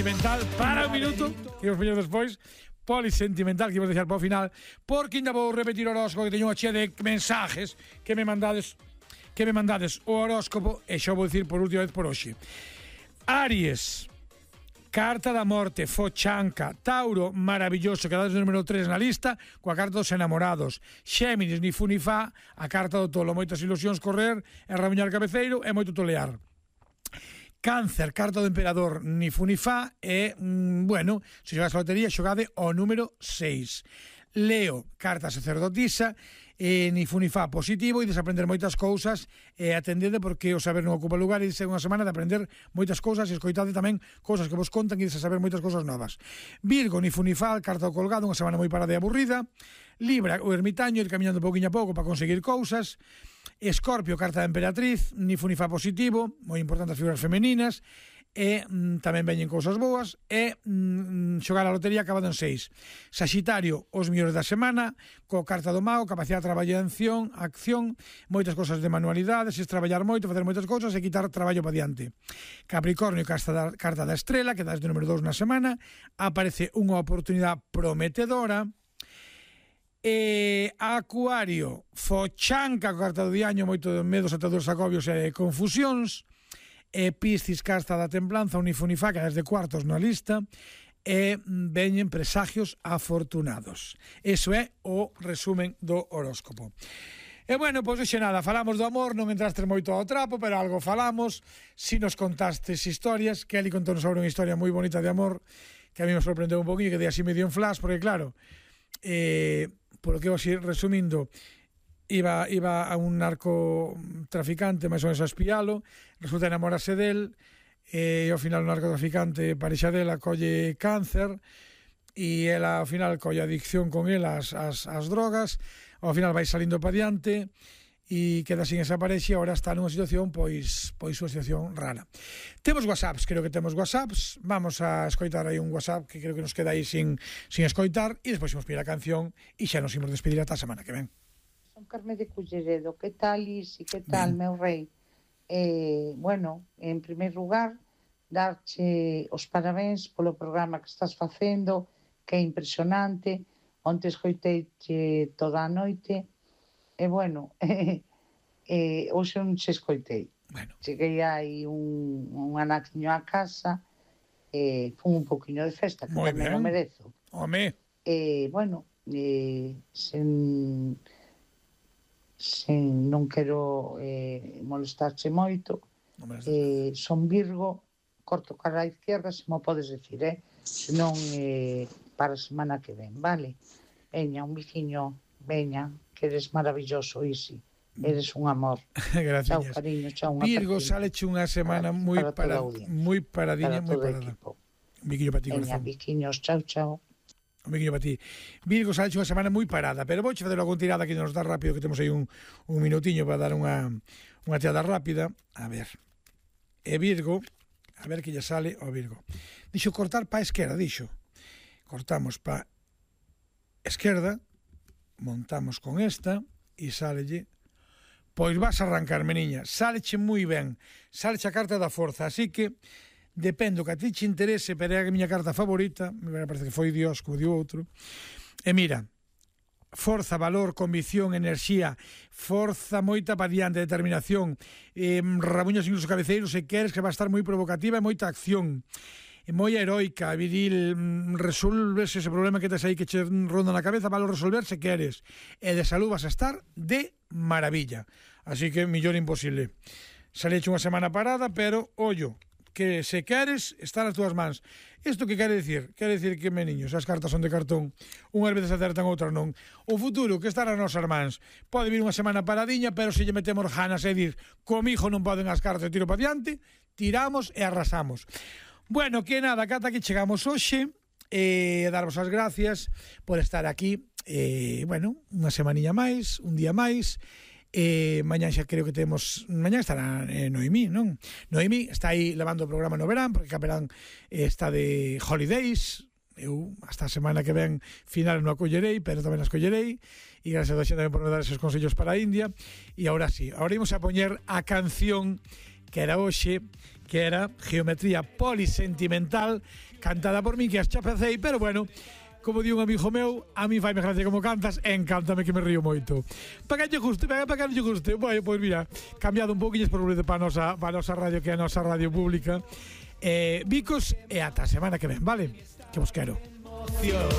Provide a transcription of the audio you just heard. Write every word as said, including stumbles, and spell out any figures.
Polisentimental para un minuto, que imos poñer despois. Polisentimental, que imos deixar para o final, porque ainda vou repetir o horóscopo, que teño unha chea de mensajes que me mandades que me mandades o horóscopo, e xa vou dicir por última vez por hoxe. Aries, carta da morte, fochanca. Tauro, maravilloso, quedades no número tres na lista, coa carta dos enamorados. Xéminis, ni fu ni fa, a carta do tolo, moitas ilusións correr, e rabuñar cabeceiro, e moito tolear. Cáncer, carta do emperador, ni fu ni fa, e, mm, bueno, se xogades a lotería, xogade o número seis. Leo, carta sacerdotisa, e ni fu ni fa, positivo, e desaprender moitas cousas, e atendede porque o saber non ocupa lugar, e dice unha semana de aprender moitas cousas, e escoitade tamén cousas que vos contan, e dice saber moitas cousas novas. Virgo, ni fu ni fa, carta do colgado, unha semana moi parada e aburrida. Libra, o ermitaño, ir caminando pouquinho a pouco para conseguir cousas. Escorpio, carta da emperatriz, ni fu ni fa positivo, moi importante as figuras femeninas, e mm, tamén veñen cousas boas, e mm, xogar a lotería acabado en seis. Saxitario, os mellores da semana, co carta do mago, capacidade de traballar en acción, acción, moitas cousas de manualidades, es traballar moito, facer moitas cousas e quitar traballo para diante. Capricornio, carta da, carta da estrela, que dás de número dos na semana, aparece unha oportunidade prometedora. E Acuario, fochanca, carta do diaño, moito de medos, ataduras, agobios e confusións. E Piscis, carta da templanza, unifunifá, que desde cuartos na lista, e veñen presagios afortunados. Eso é o resumen do horóscopo. E bueno, pois hoxe nada, falamos do amor, non entrastes moito ao trapo, pero algo falamos. Si nos contastes historias, que ali contou sobre unha historia moi bonita de amor, que a mí me sorprendeu un poquinho, que dei así medio en flash, porque claro, eh, por lo que vou así resumindo, iba, iba a un narcotraficante máis ou menos a espialo, resulta enamorarse del, e ao final o narcotraficante parexa dela colle cáncer, e ela ao final colle adicción con el as, as, as drogas, ao final vai salindo para diante, e queda sin esa parexa, e agora está nunha situación pois pois unha situación rara. Temos WhatsApps, creo que temos WhatsApps, vamos a escoitar aí un WhatsApp que creo que nos queda aí sin, sin escoitar, e despois imos pedir a canción e xa nos imos despedir ata a semana que ven. Son Carme de Culleredo, que tal, Isi, que tal, ben, meu rei? Eh, bueno, en primeiro lugar, darche os parabéns polo programa que estás facendo, que é impresionante. Onte escoiteiche toda a noite, e bueno, eh, eh, hoxe non se escoitei. Bueno. Cheguei aí un, un anaquiño á casa, e eh, fun un poquinho de festa, que moi tamén o merezo. Home. E, eh, bueno, eh, sen, sen non quero eh, molestarche moito, eh, son Virgo, corto cara á izquierda, se mo podes decir, eh? senón eh, para a semana que ven, vale? Veña, un biquiño, veña, que eres maravilloso, Isi. Eres un amor. Gracias. Chao, cariño, chao. Virgo, saleche unha semana moi para, moi paradinha, moi parada. Un biquiño para ti, veña, corazón. biquiños, chao, chao. Un biquiño para ti. Virgo, saleche unha semana moi parada, pero vouche fazer algún tirada que nos dá rápido, que temos aí un, un minutiño para dar unha, unha tirada rápida. A ver. E Virgo, a ver que lle sale ao Virgo. Dixo cortar pa esquerda, dixo. Cortamos pa esquerda, montamos con esta e sálelle, pois vas a arrancar, meniña, sáleche moi ben, sáleche a carta da forza, así que dependo que a ti che interese, pero é a miña carta favorita, me parece que foi Dios, como dio outro, e mira, forza, valor, convicción, enerxía, forza moita pa diante, determinación, eh, rabuños incluso cabeceiros, se queres, que va a estar moi provocativa e moita acción, moi heroica, viril, resolves ese problema que tes aí que che ronda na cabeza, valo resolver se queres, e de salud vas a estar de maravilla, así que millón imposible. Saleche unha semana parada, pero ollo, que se queres, está nas túas mans. Isto que quere dicir? Quere dicir que, meniños, as cartas son de cartón, unhas veces acertan, outras non. O futuro que está nas nosas mans. Pode vir unha semana paradiña, pero se lle metemos ganas e dir, comigo non poden as cartas, tiro para diante, tiramos e arrasamos. Bueno, que nada, cata que chegamos hoxe, e eh, darvos as gracias por estar aquí, eh, bueno, unha semaniña máis, un día máis, e eh, mañán xa creo que temos, mañán estará eh, Noemí, non? Noemí está aí levando o programa no verán, porque Capelán eh, está de holidays, eu hasta a semana que ven final non a collerei, pero tamén as collerei, e gracias a xente por me dar esos consellos para a India, e agora sí, agora imos a poñer a canción que era hoxe, que era Geometría Polisentimental, cantada por mí, que as chapecei, pero bueno, como di un amigo meu, a mí faime gracia como cantas, e encántame que me río moito. Para que lle guste, para que lle guste. Bueno, pois mira, cambiado un pouquinho por para a nosa, para a nosa radio, que é a nosa radio pública. Eh, bicos e ata a semana que ven, vale? Que vos quero.